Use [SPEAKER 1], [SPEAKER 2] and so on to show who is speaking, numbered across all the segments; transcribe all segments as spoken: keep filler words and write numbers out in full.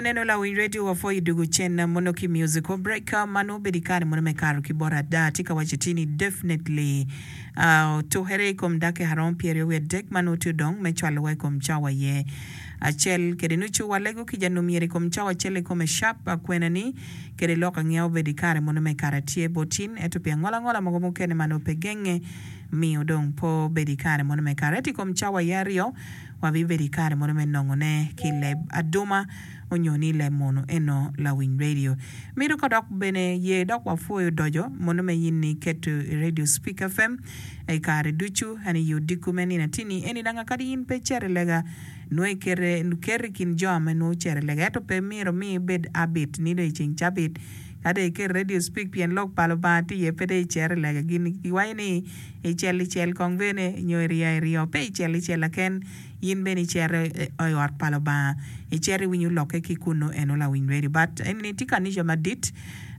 [SPEAKER 1] Kumaneno lawiny radio wapwoyo dugu cen mono ki musical break mano obedo i kare mono me kato ki bot ada tye ka waco tye ni definitely uh, otukere i kom dakika romo pyeraryo wiye adek ma nongo tye odong me cwalowa i kom cawa iye acel kede nucu walego kica nongo myero i kom cawa acel i kome sharp kwena ni kede lok angeya obedo i kare mono me kato atye bot in ento pi angola ngola mogo mukene ma nongo pe genge miyo dong pe obedo i kare mono me kato ento i kom cawa iye aryo wabibedo i kare mono me nongone ki leb aduma onyo ni leb munu eno lawiny radio mito ka dok bene ye dok wapwoyo dojo mono me yin ni keto i radio Speak F M i kare ducu en i odiko me nino atini eni danga kadi in pe icito i lega nongo ikete keto i kin jo ame nongo ocito i lega ento pe myero mi ibed habit ni dong i ceng cabit ka dong iketo radio Speak pien lok pa Lubanga tye iye pe dong icito i lega gin giwaco ni icel icel kong bene nyo iryo iryo pe icel icel laken in bene icito i ot pa Lubanga icito iwinyo lokke ki kunu eno lawiny radio but eni tye kanica madit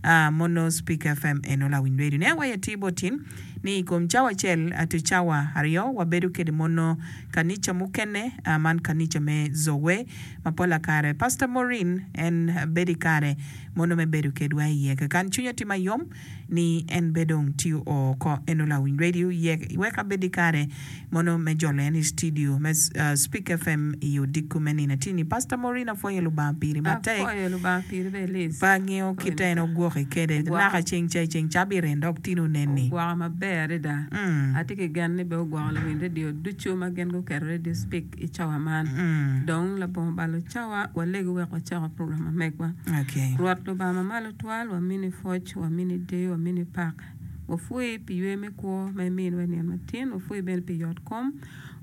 [SPEAKER 1] uh, mono Speak F M eno lawiny radio ne awaco atir bot in ni i kom cawa acel to cawa aryo wabedo kede mono kanica mukene uh, man kanica me Zoe ma pola kare Pastor Maureen en bedo i kare mono me bedo kedwa iye kakan cwinya tye mayom ni en be dong tye oko eno lawiny radio ye wek abed i kare mono me jolo en i studio me uh, Speak F M i odiko me nino atini Pastor Maureen apwoyo Lubanga piri matek.
[SPEAKER 2] Apwoyo Lubanga piri be Liz.
[SPEAKER 1] Pa angeo kite en ogwoki kede
[SPEAKER 2] Ogwoko.
[SPEAKER 1] Naka ceng ca i ceng cabit en dok tino neni.
[SPEAKER 2] Ogwoko maber adada.
[SPEAKER 1] Mm.
[SPEAKER 2] Atye ki gen ni be ogwoko luwiny radio ducu ma gin guketo radio Speak i cawa man.
[SPEAKER 1] Mm.
[SPEAKER 2] Dong labongo balo cawa walego wek wacako program ma megwa.
[SPEAKER 1] Okay.
[SPEAKER 2] Rwot Lubanga mamalo twal wamini pwoc wamini deyo wamini pak wapwoyi pi ywe me kwo ma iminiwa i nino matin wapwoyi bene pi yot kom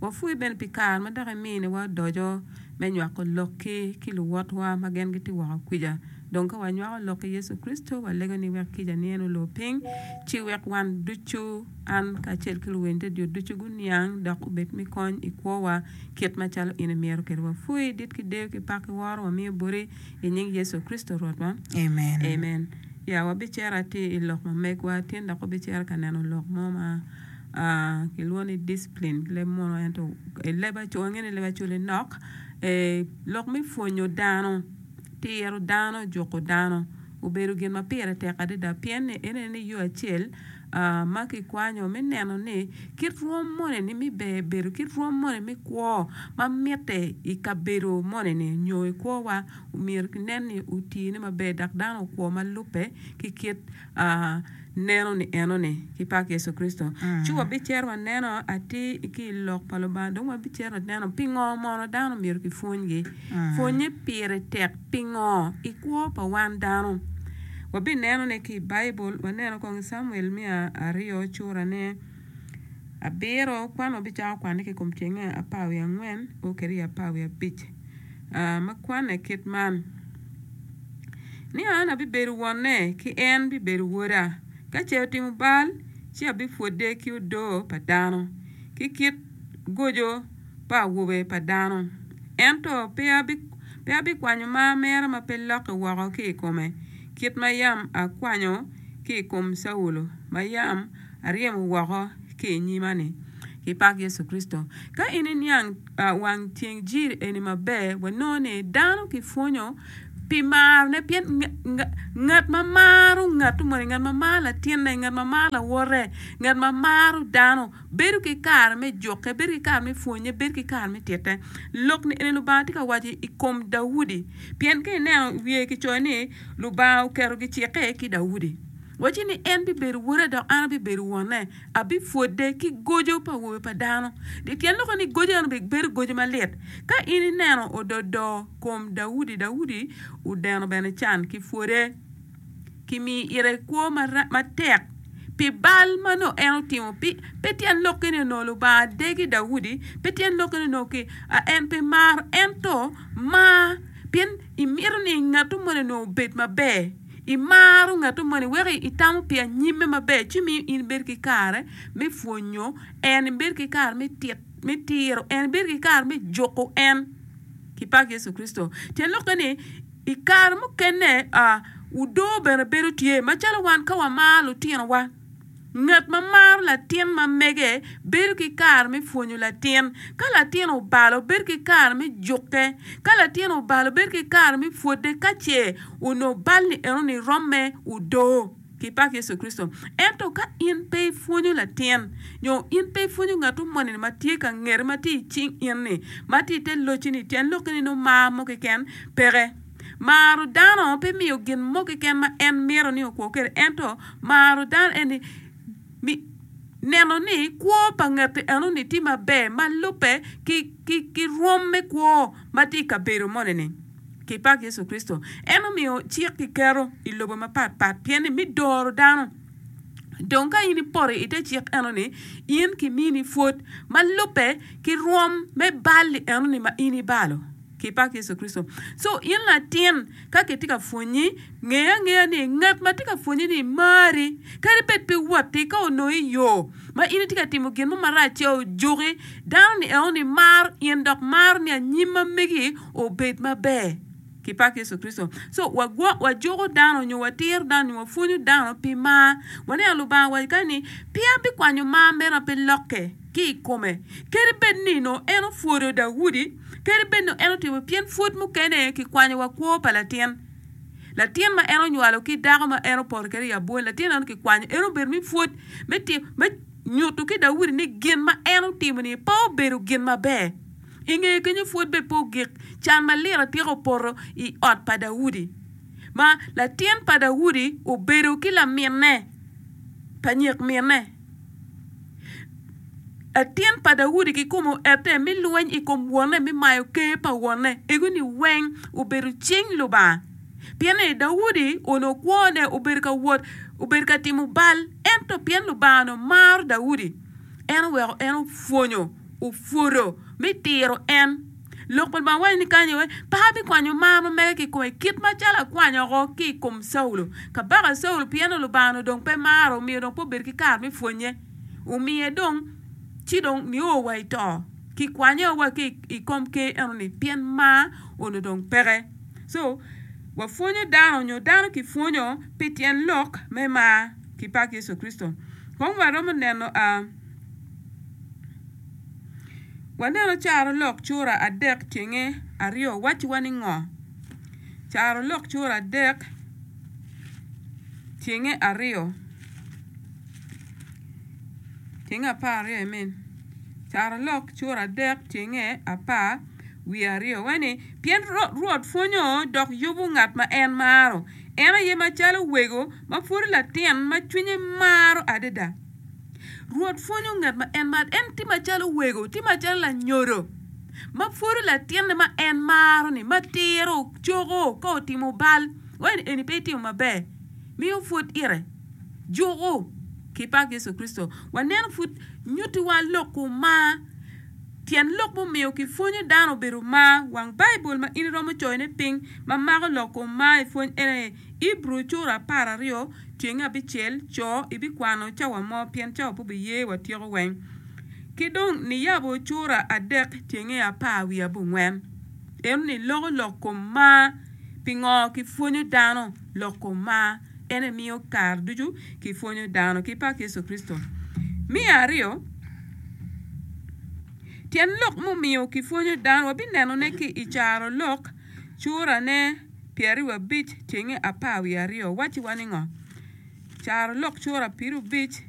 [SPEAKER 2] wapwoyi bene pi kare ma dok iminiwa odoco me nywako lokki ki luwotwa ma gin gitye woko kwica dong ka wanywako lok ki Yecu Kricito walego ni wek kica ni en olor piny ci wek wan ducu an kacel ki luwiny radio ducu guniang dok obed me kony i kwowa kit macalo in imyero kwede wapwoyi dit ki deyo ki pak ki woro wamiyo boti i nying Yecu Kricito Rwotwa.
[SPEAKER 1] Amen.
[SPEAKER 2] Amen. Ya wabicito atir i lok ma megwa tin dok wabicito ka neno lok mo ma uh, kilwongo ni discipline ki leb muno ento i leb aco wangeyo ni leb Acholi nok eh, lok me pwonyo dano tiro dano juko dano obedo gin ma pire tek adada pien ni en ni yo acel uh, ma kikwanyo me neno ni kit rwom moni ni mi ber bedo kit rwom moni me kwo ma mitte i kabedo moni ni nyo i kwowa myero kinen ni otine maber dok dano okwo ma lubbe ki kit uh, neno ni eno ni ki pak Yecu Kricito.
[SPEAKER 1] Mm.
[SPEAKER 2] Ci wabicito waneno atir ki i lok pa Lubanga dong wabicito waneno pingo mono dano myero kipwonygi.
[SPEAKER 1] Mm.
[SPEAKER 2] Pwonye pire tek pingo i kwo pa wan dano. Wabineno ne ki i Baibul waneno kong i Samuel miya aryo curane abiro kwan wabicako kwane ki i kom tyenge apar wiye angwen o kede i apar wiye abic uh, ma kwane kit man ni an abibedo wonne ki en bibedo woda ka ce otimo bal ci abipwode ki odoo pa dano ki kit gojo pa awobe pa dano ento pe abi pe abikwanyo mar mera ma pe lokke woko ki i kome kit ma yam akwanyo ki i kom Caulo ma yam aryemo woko ki i nyima-ni ki pak Yecu Kricito ka in iniang uh, wang tyeng jiri eni maber wanongo ni dano kipwonyo pi marone pien ngat ma maro ngat moni ngat ma maro latinne ngat ma maro lawote ngat ma maro dano bedo ki kare me jukke bedo ki kare me pwonye bedo ki kare me tite lok ni eni Lubanga tye ka waco i kom Daudi pien ka ineno wiye kicoyo ni Lubanga oketo gicikke ki Daudi waci ni en bibedo wode dok an abibedo wonne abipwode ki gojo pa awobe pa dano tyen lokke ni gojo eno bedo gojo malit ka in ineno ododo kom Daudi Daudi odeno bene can ki pwode kimiyo ire kwo matek pi bal ma nongo en otimo pe tyen lokke ni onongo Lubanga degi Daudi pe tyen lokke ni onongo en pe maro ento mar pien imito ni ngat moni onongo obed maber imaro ngat moni weko itamo pi anyimme maber ci miyo in ibedo ki kare me pwonyo en ibedo ki kare me tiro en ibedo ki kare me juko en ki pak Yecu Kricito tyen lokke ni i kare mukene odoo bene bedo tye macalo wan ka wamaro lutinowa Ngat ma maro latin ma mege bedo ki kare me pwonyo latin. Ka latin obalo, bedo ki kare me jukke. Ka latin obalo, bedo ki kare me pwode ka ce onongo bal-li enoni romme odoo ki pak Yecu Kricito. Ento ka in pe ipwonyo latin nyo in pe ipwonyo ngat moni ma tye ka ngeti ma tye i cing in-ni ma tye i te locci-ni, tyen lokke ni nongo mar mo keken peke. Maro dano pe miyo gin mo keken ma en mito ni okwo kwede, ento maro dano eni neno ni kwo pa ngati enoni tye maber ma lubbe ki rwom me kwo ma tye i kabedo moni-ni. Ki pak Yecu Kricito, en omiyo cik kiketo i lobo mapat pat pien ni me doro dano. Dong ka in ipoto i te cik enoni, in kimini pwod ma lubbe ki rwom me bal-li enoni ma in ibalo. Ki pak Yecu Kricito. So in latin, ka kitye ka pwonyi, nge angeya ni ngat ma tye ka pwonyi-ni mari. Kadi bed pe watti, ka onongo i yo ma in itye ka timo gin mo marac ce ojuki, dano-ni enoni maro in dok maro ni anyim ma megi obed maber. Ki pak Yecu Kricito. So wagwok, wajuko dano nyo watiro dano nyo wapwonyo dano pi mar. Waneno Lubanga owaco kany ni, Pe abikwanyo mar meno pe lokke ki i kome. Kadi bed ni nongo en opwodo Daudi, kadi bed nongo en otimo, pien pwod mukene kikwanyo wa kwo pa latin. Latin ma en onywalo ki dako ma en opoto kwede i abwol, latin eno kikwanyo, en obedo me pwod me timo, me nyuto ki Daudi ni gin ma en otimo-ni pe obedo gin maber. I ngeye kenyo pwod bene pe ogik, can malit atika opoto i ot pa Daudi, ma latin pa Daudi obedo ki laminne pa nyek minne. Latin pa Daudi kikome oette me lweny i kom wonne me mayo ker pa wonne. Ego-ni weng obedo cing Lubanga. Pien ni Daudi onongo kwone obedo ka wot, obedo ka timo bal, ento pien Lubanga onongo maro Daudi, en oweko en opwonyo, opwodo me tiro en. Lok pa Lubanga waco ni kany aye, Pe abikwanyo mar ma mega ki i kome kit macalo akwanyo woko ki i kom Caulo. Kabaka Caulo pien ni Lubanga onongo dong pe maro, omiyo dong pe obedo ki kare me pwonye. Omiye dong ci dong nio wa i to. Kikwanye wa ki i kom ker enoni pien mar onongo dong peke. So, wapwonyo dano nyo dano kipwonyo pi tyen lok me mar ki pak Yecu Kricito. Kong waromo neno a Waneno carolok cura adek tyenge aryo wacciwa ni ngo? Carolok cura adek tyenge aryo tyenge apar aryo I mean carolok cura adek tyenge apar wiye aryo waci ni pien Rwot pwonyo dok yubo ngat ma en maro en aye macalo wego ma pwod latin ma cwinye maro adada. Rwot pwonyo ngat ma en maro. En tye macalo wego, tye macalo lanyodo ma pwodo latinne ma en maro-ni, ma tiro, coko ka otimo bal. Wai ni eni pe itimo maber, miyo pwod ite, juko ki pak Yecu Kricito. Waneno pud nyutiwa lok kom mar. Tyen lok mumiyo kipwonyo dano obedo mar. Wang Baibul ma in iromo coyone piny ma mako lok kom mar i pwony en aye, Ibru cura apar aryo, Tyeng abicel, Co ibikwano cawa mo pien cawa pe obiye watyeko weng. Ki dong niyabo cura adek tyenge apar wiye abongwen. Eno ni loko lok kom mar. Pingo ki pwonyo dano lok kom mar? En aye miyo kare ducu ki pwonyo dano ki pak Yecu Kricito. Me aryo, tyen lok mumiyo ki pwonyo dano wabinenone ki i caro lok curane. Pyeraryo abic tyenge apar wiye aryo wacciwa ni ngo? Carolok cura piru abic.